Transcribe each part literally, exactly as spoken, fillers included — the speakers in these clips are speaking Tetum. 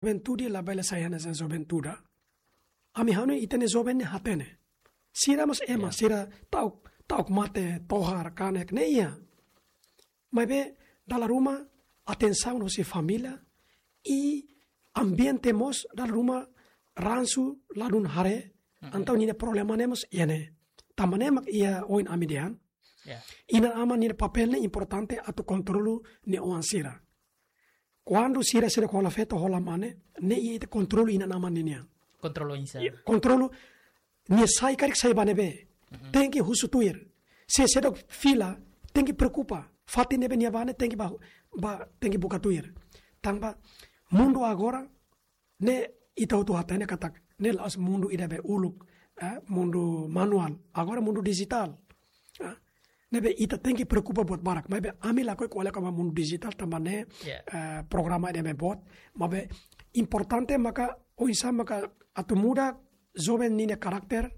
juventude labele sai hanesan juventude. Ami hanoin ita-nia joven ne'e hatene. Sira mós ema, sira ta'uk, ta'uk mate, tohar, kanek, ne'e iha. Maibé, dala ruma atensaun husi família, i ambiente mós dala ruma ransu ladún haree, entaun ninia problema ne'e mós iha ne'e. Tanba ne'e mak iha ohin ami dehan. Inan-aman ninia papél ne'e importante atu kontrolu nia oan sira. Kuandu sira seidauk hola feto hola mane, ne'e ita kontrolu inan-aman ninian. Kontrolu oinsá? Kontrolu, nia sai karik sai ba ne'ebé. Tenke husu tuir. Se seidauk fila, tenke preokupa. Fatin ne'ebé nia ba ne'e tenke ba, ba, tenke buka tuir. Tanba mundu agora, ne'e ita hotu hatene katak ne'e la'ós mundu ida be uluk, eh, mundu manuál. Agora mundu dijitál. Ah, ne'ebé ita tenke preokupa buat barak. Maibé ami lakohi ko'alia kona-ba mundu dijitál tanba ne'e, eh, programa ida be boot. Maibé importante maka oinsá maka atu muda joven ninia karakter,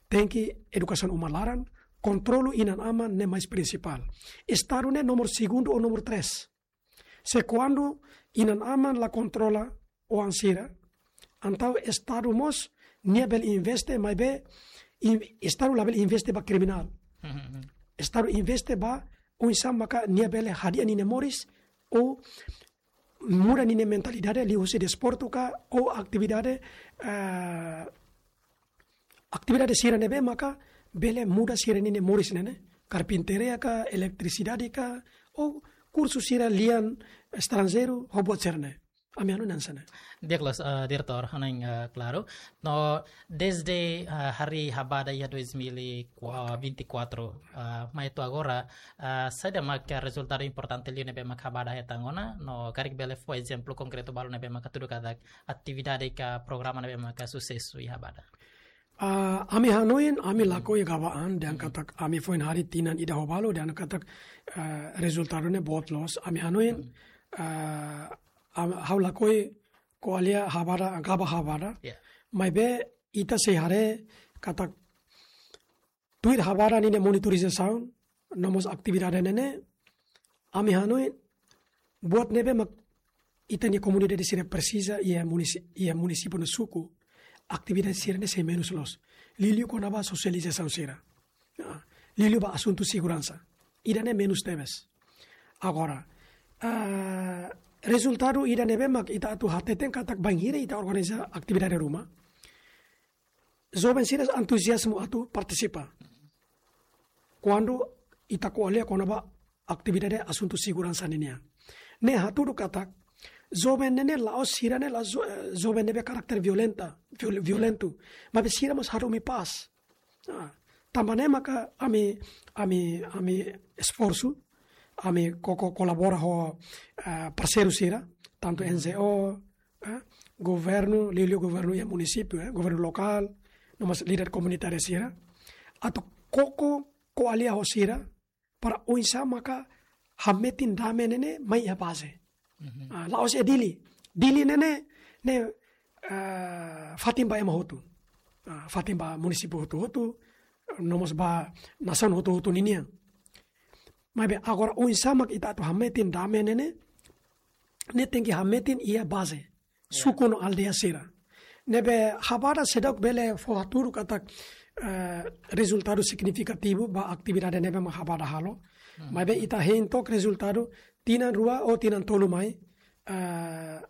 tenke edukasaun uma laran, kontrolu inan-aman ne'e mais prinsipál. Estadu ne'e nomor segundu ou nomor tres. Se kuandu inan-aman la kontrola oan sira, entaun Estadu mós nia bele investe, maibé in-, Estadu labele investe ba kriminál. Estadu investe ba oinsá maka nia bele hadi'a ninia moris, ou muda ninia mentalidade liuhusi desportu ka, ou atividade, eh, atividade sira ne'ebé maka bele muda sira ninia moris ne'e ne'e. Karpintaria ka, eletrisidade ka, ou kursu sira lian estranjeiru, ho buat sira ne'e. Ami hanoin hanesan ne'e. Di'ak loos, eh, Diretór, hanoin, eh, klaru. No, dezde, eh, harii Habada iha dois mil e vinte e quatro, eh, mai to'o agora, eh, saida maka rezultadu importante liu ne'ebé maka Habada hetan ona, no karik bele fó ezemplu konkretu balu ne'ebé maka hatudu katak atividade ka programa ne'ebé maka susesu iha Habada? Ah, ami hanoin, ami lakohi gaba an, dehan katak ami foin harii tinan ida ho balu, dehan katak, eh, rezultadu ne'e boot loos. Ami hanoin, eh, am-, ha'u lakohi ko'alia Habada, gaba Habada. Maibé ita sei haree katak tuir Habada ninia monitorizasaun, no mós atividade ne'e ne'e, ami hanoin buat ne'ebé mak ita-nia komunidade sira presiza iha munisi-, iha munisípiu no suku, atividade sira ne'e sei menus loos. Liuliu kona-ba sosializasaun sira. Ah, liuliu ba asuntu seguransa. Ida-ne'e menus tebes. Agora, ah, rezultadu ida ne'ebé mak ita atu hateten katak bainhira ita organiza atividade ruma, joven sira antuziazmu atu partisipa. Kuandu ita ko'alia kona-ba atividade asuntu seguransa ninian. Ne'e hatudu katak joven ne'e ne'e la'ós sira ne'e la'ós jo-, eh, joven ne'ebé karakter violenta, viol-, violentu. Maibé sira mós hadomi pás. Ah, tanba ne'e maka ami, ami, ami esforsu, ami koko kolabora ho, eh, parseiru sira, tantu N G O, eh, governu, liuliu governu iha munisípiu, eh, governu lokál, no mós líder komunitáriu sira. Atu koko ko'alia ho sira, para oinsá maka hametin dame ne'e ne'e mai iha baze. Ah, la'ós iha Dili. Dili ne'e ne'e, ne'e, ah, fatin ba ema hotu. Ah, fatin ba munisípiu hotu-hotu, no mós ba nasaun hotu-hotu ninian. Maibé agora oinsá mak ita atu hametin dame ne'e ne'e, ne'e tenke hametin iha baze. Suku no aldeia sira. Ne'ebé Habada seidauk bele fó hatudu katak, eh, rezultadu signifikativu ba atividade ne'ebé mak Habada halo. Maibé ita hein took rezultadu tinan rua ou tinan tolu mai, eh,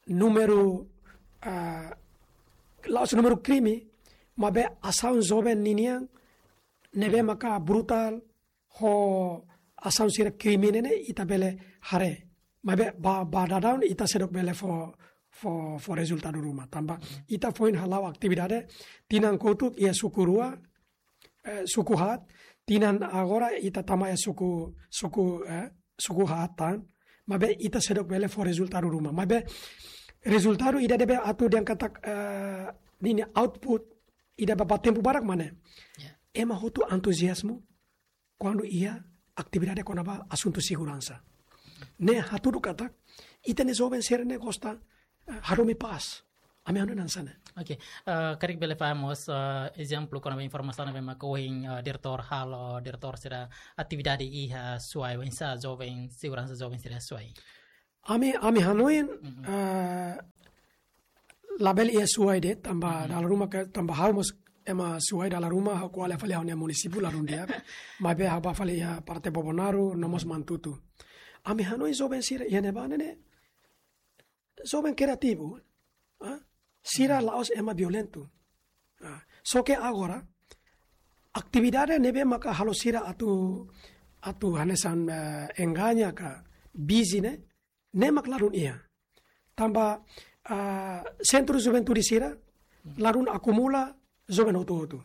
númeru, eh, la'ós númeru krime, maibé asaun joven ninian ne'ebé maka brutál, ho asaun sira krime ne'e ne'e ita bele haree. Maibé ba, ba daudaun ita seidauk bele fó, fó, fó rezultadu ruma. Tanba ita foin hala'o atividade tinan kotuk iha suku rua, eh, suku haat, tinan agora ita tama iha suku, suku, eh, suku haat tan. Maibé ita seidauk bele fó rezultadu ruma. Maibé rezultadu ida ne'ebé atu dehan katak, eh, ninia output ida ba, ba tempu barak mak ne'e. Ema hotu antuziazmu kuandu iha atividade kona-ba asuntu seguransa. Ne'e hatudu katak ita-nia joven sira ne'e gosta, eh, hadomi pás. Ami hanoin hanesan ne'e. Oke, eh, karik bele fahe mós, eh, ezemplu kona-ba informasaun ne'ebé maka ohin, eh, Diretór halo, Diretór sira atividade iha Suai, oinsá joven, seguransa joven sira Suai? Ami, ami hanoin, eh, labele iha suai de'it, tanba dala ruma ke, tanba ha'u mós ema suai, dala ruma ha'u ko'alia fali ha'u-nia munisípiu ladún di'ak. Maibé ha'u bá fali iha parte Bobonaro, no mós Manatuto. Ami hanoin joven sira iha ne'ebá ne'e, joven kreativu. Ah? Sira la'ós ema violentu. Ah, só ke agora, atividade ne'ebé maka halo sira atu, atu hanesan, eh, engaña ka bizi ne'e, ne'e mak ladún iha. Tanba, ah, sentru juventude sira, ladún akumula joven hotu-hotu.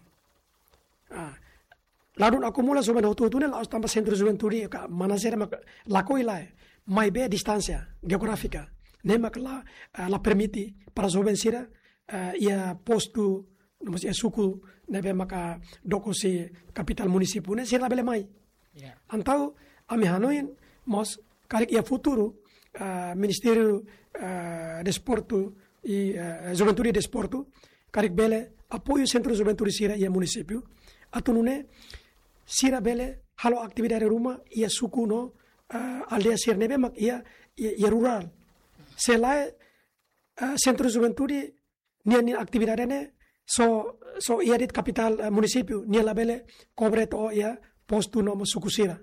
Ah, ladún akumula joven hotu-hotu ne'e la'ós tanba sentru juventude ka manajer mak lakohi lae. Maibé distánsia jeográfika. Ne'e mak la, ah, la permite para joven sira, ah, iha postu, no mós iha suku ne'ebé maka dook husi kapitál munisípiu ne'e sira labele mai. Ya. Entaun, ami hanoin mós karik iha futuru, ah, Ministériu, ah, Desportu i, ah, Juventude i Desportu, karik bele apoiu sentru juventude sira iha munisípiu. Atu nune'e sira bele halo atividade ruma iha suku no, ah, aldeia sira ne'ebé mak iha, iha, iha rurál. Se lae, ah, sentru juventude nia, nia atividade ne'e só, só iha de'it kapitál, eh, munisípiu, nia labele kobre to'o iha postu no mós suku sira.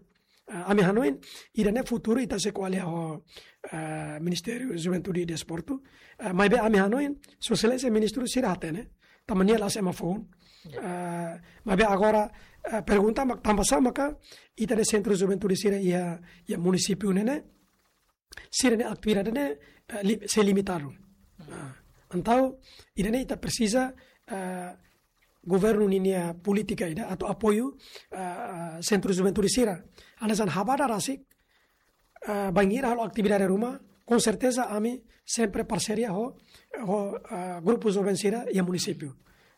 Ah, ami hanoin, ida-ne'e futuru ita sei ko'alia ho, eh, Ministériu Juventude i Desportu. Eh, maibé ami hanoin, Sua Exelénsia Ministru sira hatene, tanba nia la'ós ema foun. Ya. Eh, maibé agora, eh, pergunta mak tanba sá maka ita-nia sentru juventude sira iha, iha munisípiu ne'e ne'e, sira-nia atividade ne'e, eh, li-, sei limitadu. Ah, entaun, ida-ne'e ita presiza, eh, governu ninia polítika ida atu apoiu, eh, sentru juventude sira. Hanesan Habada rasik, eh, bainhira halo atividade ruma, com certeza ami sempre parseria ho, ho, eh, grupu joven sira iha munisípiu.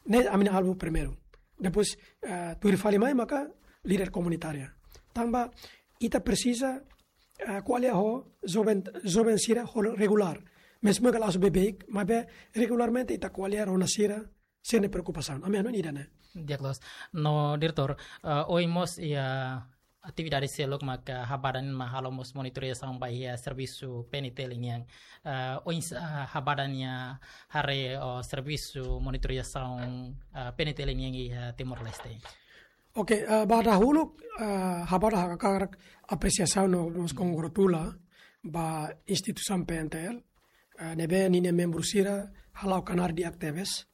Ne'e ami-nia alvu primeiru. Depois, eh, tuir fali mai maka líder komunitária. Tanba ita presiza, eh, ko'alia ho joven, joven sira ho regulár. Mezmu ke la'ós beibeik, maibé regularmente ita ko'alia rona sira, sira-nia preokupasaun. Ami hanoin ida-ne'e. Di'ak loos. No, Diretór, eh, ohin mós iha atividade seluk maka Habada nian mak halo mós monitorizasaun ba iha servisu P N T L nian. Eh, oinsá Habada nia haree, oh, servisu monitorizasaun, eh, P N T L nian iha Timor-Leste? Oke, eh, ba dahuluk, eh, Habada hakarak apresiasaun no mós kongratula ba instituisaun P N T L, eh, ne'ebé ninia membru sira hala'o knaar di'ak tebes,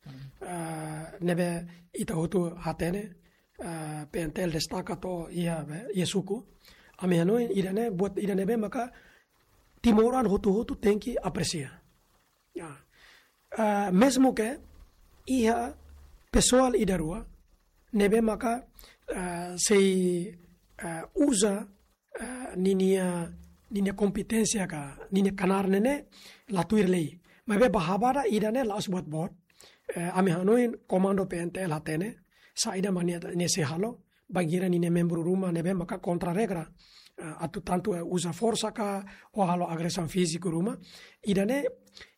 eh, ne'ebé ita hotu hatene, eh, P N T L destaka to'o iha, iha suku. Ami hanoin ida-ne'e buat ida ne'ebé maka timoroan hotu-hotu tenke apresia. Ya. Eh, mezmu ke iha pesoál ida rua ne'ebé maka, eh, sei, eh, uza, eh, ninia, ninia kompeténsia ka ninia knaar ne'e ne'e la tuir lei. Maibé ba Habada ida-ne'e la'ós buat boot. Eh, ami hanoin komandu P N T L hatene saida mak nia, nia sei halo bainhira ninia membru ruma ne'ebé maka kontra regra, eh, atu tantu, eh, uza forsa ka ou halo agresaun fíziku ruma. Ida-ne'e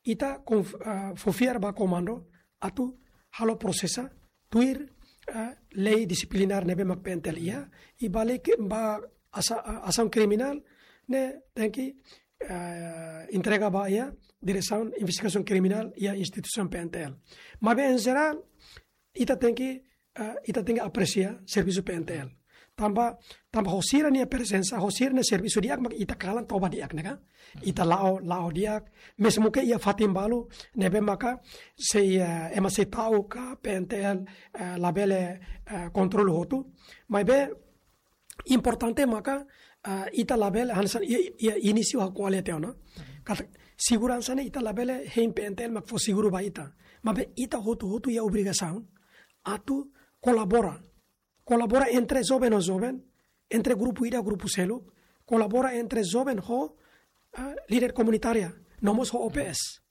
ita konf-, eh, fó fiar ba komandu atu halo prosesa tuir, eh, lei disiplinár ne'ebé mak P N T L iha, i ba lei ke, ba asa-, a-, asaun kriminál ne'e tenke, eh, entrega ba iha Diresaun Investigasaun Kriminál iha instituisaun P N T L. Maibé en jerál, ita tenke, eh, ita tenke apresia servisu P N T L. Tanba, tanba ho sira-nia prezensa, ho sira-nia servisu di'ak mak ita kalan toba di'ak ne'e ka. Ita la'o, la'o di'ak, mezmu ke iha fatin balu ne'ebé maka sei, eh, ema sei ta'uk ka P N T L, eh, labele, eh, kontrolu hotu. Maibé importante maka, eh, ita labele hanesan iha, iha inísiu ha'u ko'alia tiha ona. Katak seguransa ne'e ita labele hein P N T L mak fó seguru ba ita. Maibé ita hotu-hotu iha obrigasaun atu kolabora. Kolabora entre joven ho joven, entre grupu ida grupu seluk, kolabora entre joven ho, ah, líder komunitária, no mós ho O P S.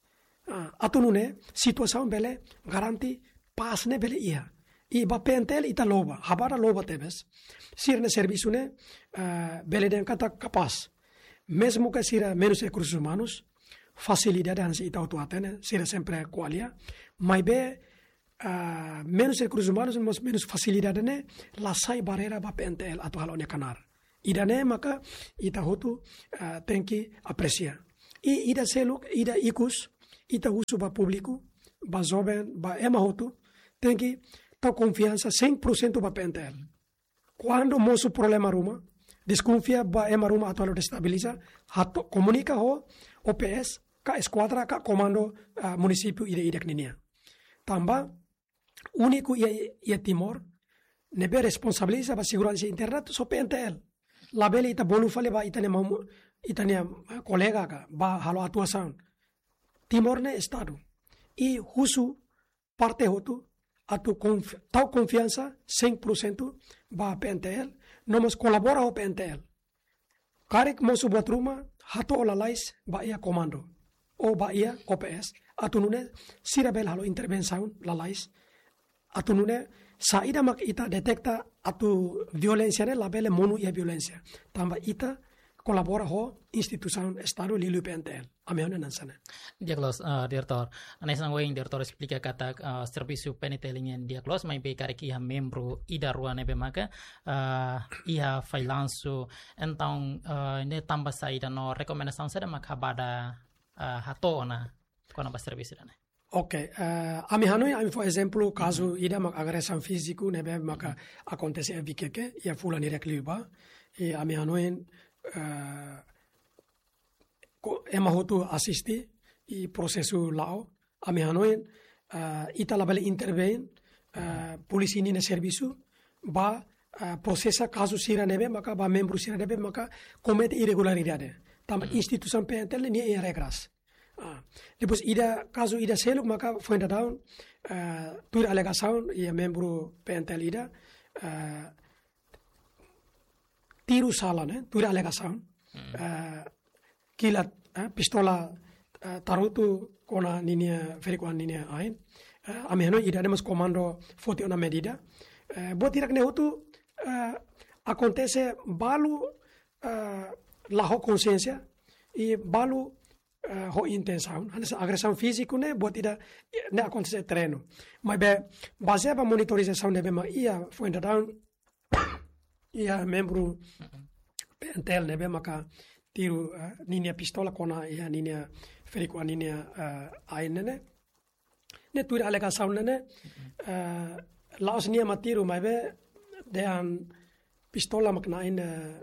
Ah, atu nune'e situasaun bele garante pás ne'e bele iha. I ba P N T L ita loba, Habada loba tebes. Sira-nia servisu ne'e, ah, bele dehan katak kapás. Mezmu ke sira menus rekursus umanus, fasilidade hanesan ita hotu hatene, sira sempre ko'alia. Maibé, ah, menus rekursus umanus, mós menus fasilidade ne'e la sai barreira ba P N T L atu halo nia knaar. Ida-ne'e maka ita hotu, ah, tenke apresia. I ida seluk, ida ikus, ita husu ba públiku, ba joven, ba ema hotu, tenke tau konfiansa cem por cento ba P N T L. Kuandu mosu problema ruma, deskonfia ba ema ruma atu halo destabiliza, hato'o komunika ho O P S, ka eskuadra, ka komandu, ah, munisípiu ida-idak ninian. Tanba, úniku iha, iha Timor, ne'ebé responsabiliza ba seguransa interna só P N T L. Labele ita bolu fali ba ita-nia maun, ita-nia, ah, kolega ka, ba halo atuasaun. Timor ne'e Estadu. I husu parte hotu atu konf-, tau konfiansa cem por cento ba P N T L, no mós kolabora ho P N T L. Karik mosu buat ruma, hato'o lalais ba iha komandu, ou ba iha O P S, atu nune'e sira bele halo intervensaun lalais, atu nune'e saida mak ita deteta atu violénsia ne'e labele monu iha violénsia. Tanba ita kolabora ho instituisaun Estadu liuliu P N T L. Ami hanoin hanesan ne'e. Di'ak loos, eh, Diretór. Hanesan ohin Diretór esplika katak, eh, servisu P N T L nian di'ak loos, maibé karik iha membru ida rua ne'ebé maka, eh, iha fallansu, entaun, eh, ne'e tanba saida no rekomendasaun saida mak ha'u bele, eh, hato'o ona kona-ba servisu ida-ne'e. Oke, eh, ami hanoin, ami fó ezemplu kazu ida mak agresaun fíziku ne'ebé maka akontese iha Vikeke, iha fulan hirak liubá. I ami hanoin, eh, ko-, ema hotu asiste i prosesu la'o. Ami hanoin, eh, ita labele intervein, eh, polísia ninia servisu ba, eh, prosesa kazu sira ne'ebé maka, ba membru sira ne'ebé maka komete irregularidade. Tanba instituisaun P N T L nia iha regras. Ah, depois ida, kazu ida seluk maka foin daudaun, eh, tuir alegasaun iha membru P N T L ida, eh, tiru sala ne'e, tuir alegasaun, eh, kilat, eh, pistola, eh, tarutu kona ninia ferik-oan ninia ain. Eh, ami hanoin ida-ne'e mós komandu foti ona medida. Eh, buat hirak ne'e hotu, eh, akontese balu, eh, la ho konsiénsia, i balu, eh, ho intensaun. Hanesan agresaun fíziku ne'e buat ida, eh, ne'e akontese iha terrenu. Maibé, bazeia ba monitorizasaun ne'ebé mak iha foin daudaun, iha membru P N T L ne'ebé maka tiru, eh, ninia pistola kona iha ninia ferik-oan ninia, eh, ain ne'e ne'e. Ne'e tuir alegasaun ne'e ne'e, eh, la'ós nia mak tiru maibé dehan pistola mak na'in, eh,